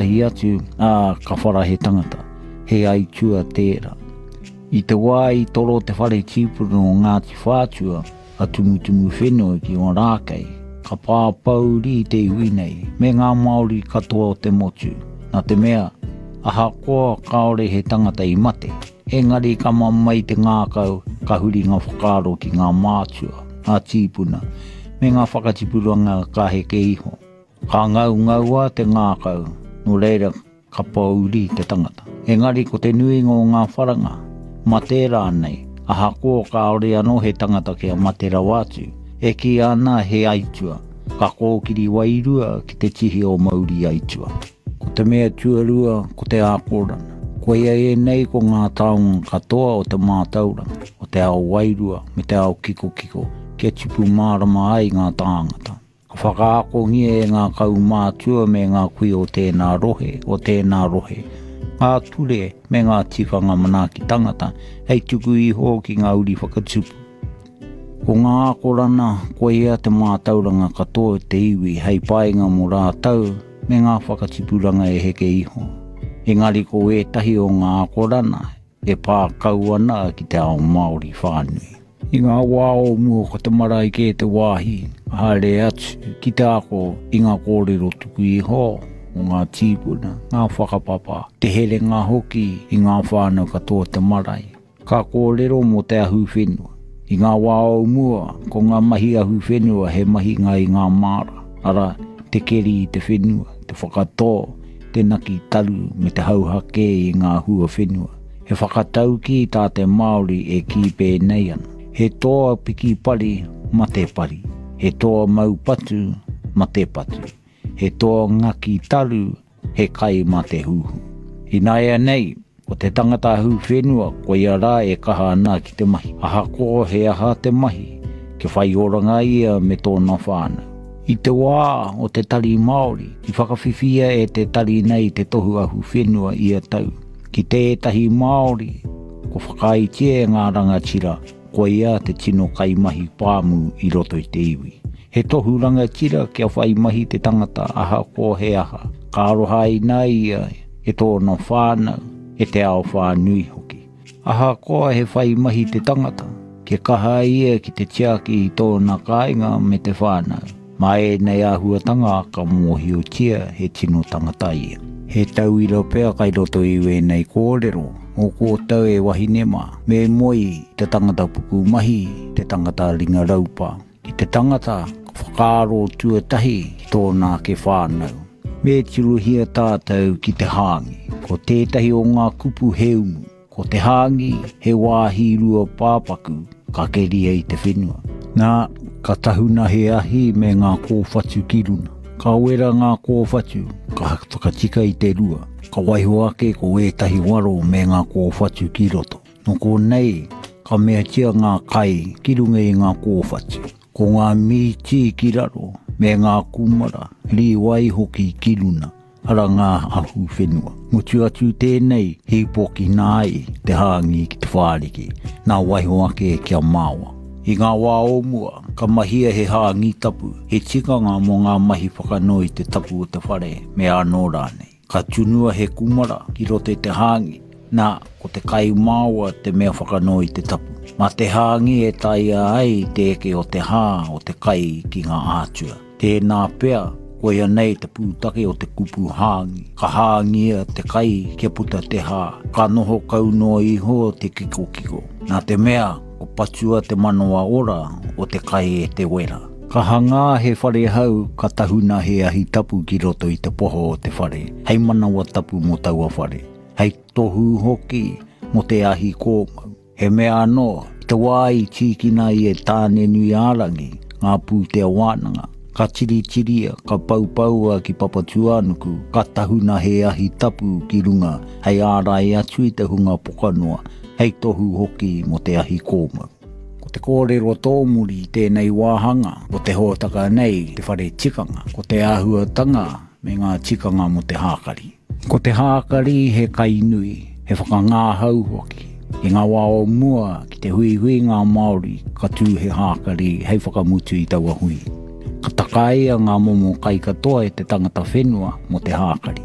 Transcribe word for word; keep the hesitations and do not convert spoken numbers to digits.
ētahi atu, ā, ka whara he tangata. He aitua tērā. I te wā i toro te whare tīpuna o Ngāti Whātua, a Tumutumuwhenua ki Ōrākei, ka pāpōuri te iwi nei, me ngā Māori katoa o te motu, nā te mea, ahakoa kāore he tangata i mate, engari ka mamae te ngākau, ka huri ngā whakaaro ki ngā mātua, ngā tīpuna, me ngā whakatipuranga ka heke iho. Ka ngaungaua te ngākau, nō reira ka pōuri te tangata. Engari ko te nuinga o ngā wharanga, mate rānei, ahakoa kāore anō he tangata kia mate rawa atu, e kīia ana he aitua, ka kōkiri wairua ki te tihi o mauri aitua. Ko te mea tuarua, ko te ākorana. Koia ēnei ko ngā taonga katoa o te mātauranga, o te ao wairua me te ao kikokiko, kia tipu mārama ai ngā tāngata. Ka whakaakongia e ngā kaumātua me ngā kui o tēnā rohe, o tēnā rohe, ngā ture me ngā tikanga manaaki tangata hei tuku iho ki ngā uri whakatupu. Ko ngā akorana, koia te mātauranga katoa o te iwi hei painga mō rātou me ngā whakatipuranga e heke iho. Engari ko ētahi o ngā akorana e pā kau ana ki te ao Māori whānui. I ngā wā o mua ko te marae kē te wāhi haere atu ki te ako i ngā kōrero tuku iho o ngā tīpuna, ngā whakapapa, te herenga hoki i ngā whānau katoa o te marae. Ka kōrero mō te ahuwhenua. I ngā wā o mua, ko ngā mahi ahuwhenua he mahinga i ngā māra, arā, te keri i te whenua, te whakatō, te naki taru me te hauhake i ngā hua whenua. He whakataukī tā te Māori e kī pēnei ana. He toa piki pari, mate pari. He toa mau patu, mate patu. He toa ngaki taru, he kai mā te huhu. Ināianei, ko te tangata ahuwhenua, koia rā e kaha ana ki te mahi. Ahakoa he aha te mahi, kia whai oranga ia me tōna whānau. I te wā o te Tari Māori, i whakawhiwhia e te tari nei te tohu ahuwhenua ia tau. Ki tētahi Māori, ko whakaaetia e ngā rangatira, koia te tino kaimahi pāmu i roto i te iwi. He tohu rangatira kia whai mahi te tangata ahakoa he aha, ka arohaina ia e tōna whānau, e te ao whānui hoki. Ahakoa he whai mahi te tangata, kia kaha ia ki te tiaki i tōna kāinga me te whānau. Mā ēnei āhuatanga ka mōhiotia he tino tangata ia. He tauira pea kai roto i wēnei kōrero, mō koutou e wahine mā, me moe i te tangata pukumahi, te tangata ringa raupa, ki te tangata whakaaro tuatahi ki tōna ake whānau. Me tirohia tātou ki te hāngi. Ko tētahi o ngā kupu he umu. Ko te hāngi he wāhi rua pāpaku ka keria i te whenua. Nā, ka tahuna he ahi me ngā kōwhatu ki runa. Ka wera ngā kōwhatu, ka whakatika i te rua. Ka waiho ake ko ētahi waro me ngā kōwhatu ki roto. Nō konei, ka meatia ngā kai ki runga i ngā kōwhatu. Ko ngā mīti ki raro, me ngā kūmara, rīwai hoki ki runa, ara ngā ahuwhenua. Mutu atu tēnei, hīpokina ai te hāngi ki te whāriki, nā waiho ake kia māoa. I ngā wā o mua, ka mahia he hāngi tapu, he tikanga mō ngā mahi whakanui i te tapu o te whare, me anō rānei. Ka tunua he kūmara ki roto i te hāngi, nā, ko te kai māoa te mea whakanui i te tapu. Mā te hāngi e taea ai te eke o te hā o te kai ki ngā ātua. Tēnā pea, koia nei te pūtake o te kupu hāngi. Ka hāngia te kai kia puta te hā, ka noho kau noa iho te kikokiko. Nā te mea, ko patua te manawa ora o te kai e te wera. Ka hangā he whare hau, ka tahuna he ahi tapu ki roto i te poho o te whare, hei manawa tapu mō taua whare, hei tohu hoki mō te ahi kōmau. He mea anō, i te wā i tīkina ai e Tāne-nui-ā-rangi ngā pūtea wānanga, ka tiritiria, ka poupoua ki Papatūānuku, ka tahuna he ahi tapu ki runga hei ārai atu i te hunga pokanoa, hei tohu hoki mō te ahi kōmau. Ko te kōrero tōmuri i tēnei wāhanga o te hōtaka nei, te whare tikanga, ko te āhuatanga me ngā tikanga mō te hākari. Ko te hākari he kai nui, he whakangāhau hoki. I ngā wā o mua, ki te huihui ngā Māori, ka tū he hākari hei whakamutu i taua hui. Ka takaia ngā momo kai katoa e te tangata whenua mō te hākari.